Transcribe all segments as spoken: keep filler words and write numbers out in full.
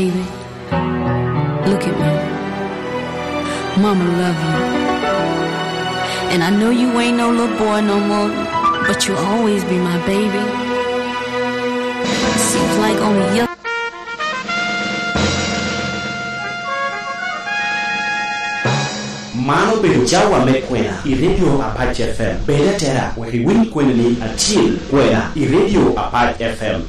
Baby, look at me. Mama love you. And I know you ain't no little boy no more, but you'll always be my baby. Seems like only you. Man obedo cawa me kwena i Radio Apac F M. Bed atera wek iwiny kweni ni atyel kwena i Radio Apac F M.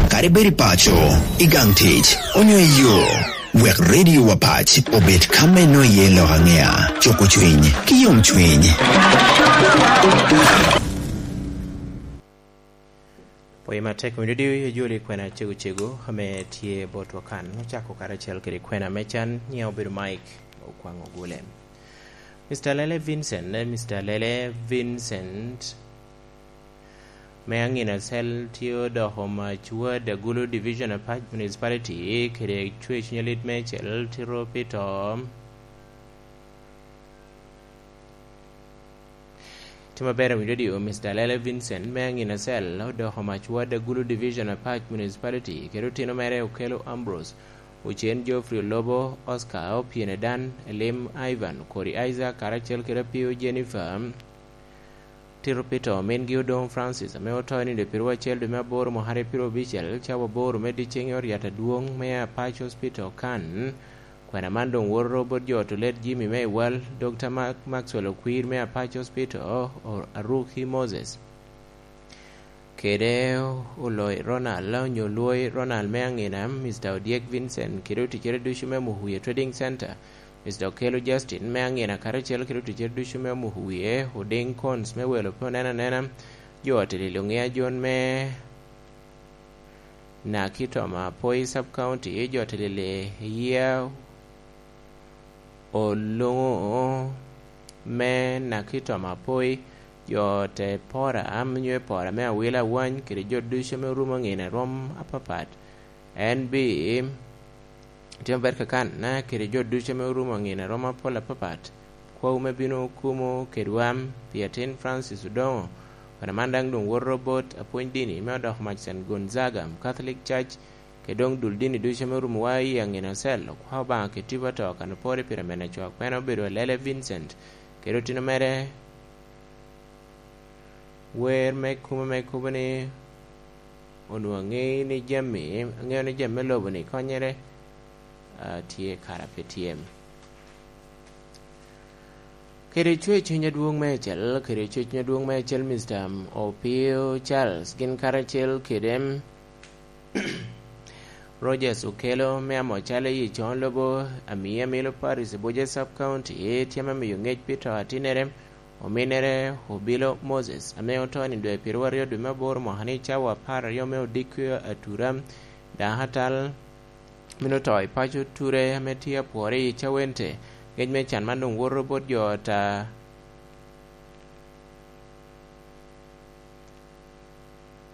Kadi bed i paco, i gang tic, onyo i yo, wek Radio Apac obed ka me nwoŋo iye lok aŋea, cuko cwiny, ki yomcwiny. Pwoyo matek winy dodiyo i ajoli kwena cego cego ame tye botwa kan, ocako karacel kede kwena me can, nyiŋa obedo Mike Okwaŋ Ogule. Mister Lele Vincent, eh, Mister Lele Vincent, me aŋina cel tye odoko mac ward Agulu Division Apac Municipality, kede cwer cuny alit me cel tito pi to. Tim aber awinyo dio, Mister Lele Vincent me aŋina cel odoko mac ward Agulu Division Apac Municipality, kede otino mere Okelo Ambrose, Ocen Geoffrey Olobo, Oscar Opien Edan, Elim Ivan, Kori Isaac, karacel kede Apio Jennifer. Tito Peter, omingi Odong Francis, ame oto i nino piro acel dwe me aboro mwaka aryo piro abicel, cawa aboro me dyeceŋ i ot yat adwoŋ me Apac Hospital kan. Kwena man doŋ woto bot jo oto led Jimmy me Iwal, Dokta Mark Maxwell Okwir me Apac Hospital, o-, Aruki Moses. Kede Oloi Ronald, onyo Oloi Ronald me aŋina, Mister Odyek Vincent, kede oticere ducu me Muhuye Trading Center, Mister Okello Justin me aŋina, karacel kede oticere ducu me Muhuye, Oding Cons me welo pe oneno anena, jo ote lilo ŋe ajon me Nakitoma Apoi Sub County, jo ote lilo Yia Oluŋo me Nakitoma Apoi, jo te pora, am nyo e pora me Awila Awany, kede jo ducu ame orumo ŋina rom apapat. En bi timo ber kakan, na kede jo ducu ame orumo ŋina rom apol apapat. Kwawu me bino kumo kedwa pi atin Francis Odongo, kwena man daŋ doŋ woto bot apwony dini me odoko mac Saint Gonzaga Catholic Church, kede doŋ dul dini ducu ame orumo wa i aŋina cel, okwa Obaŋa kede tipo ato kan opore pire mene cwak, pien obedo Alele Vincent, kede otino mere wer me kumo me kubo ni onwoŋo aŋeyo ni jami, aŋeyo ni jami me lobo ni konyere, ah, tye kara pe tye. Kede cwer cuny adwoŋ meicel, kede cwer cuny adwoŋ meicel, Mister Opio Charles, gin karacel kede Rogers Okello me Amocale i Coŋ Lobo, Amiya Milo Paris, Abuja Sub County, tye ame miyo ŋec pi to atinnere, ominnere Obilo Moses, ame oto i nino dwe pyeru aryo dwe me aboro mwaka ni cawa apar aryo me odiko atura, dako atal, mino to i paco ture ame tye apwore i Cawente. Ŋec me can man doŋ woto bot jo ata,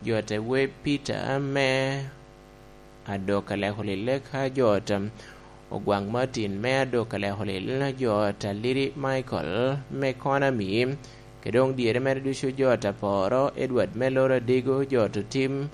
jo ata we Peter me Adok Aleko Lille, ka jo ata Ogwaŋ Martin me Adok Aleko Lille, jo ata Liri Michael me Konami, kede doŋ dyere mere ducu jo ata Poro Edward me Loro Adigo, jo ata Tim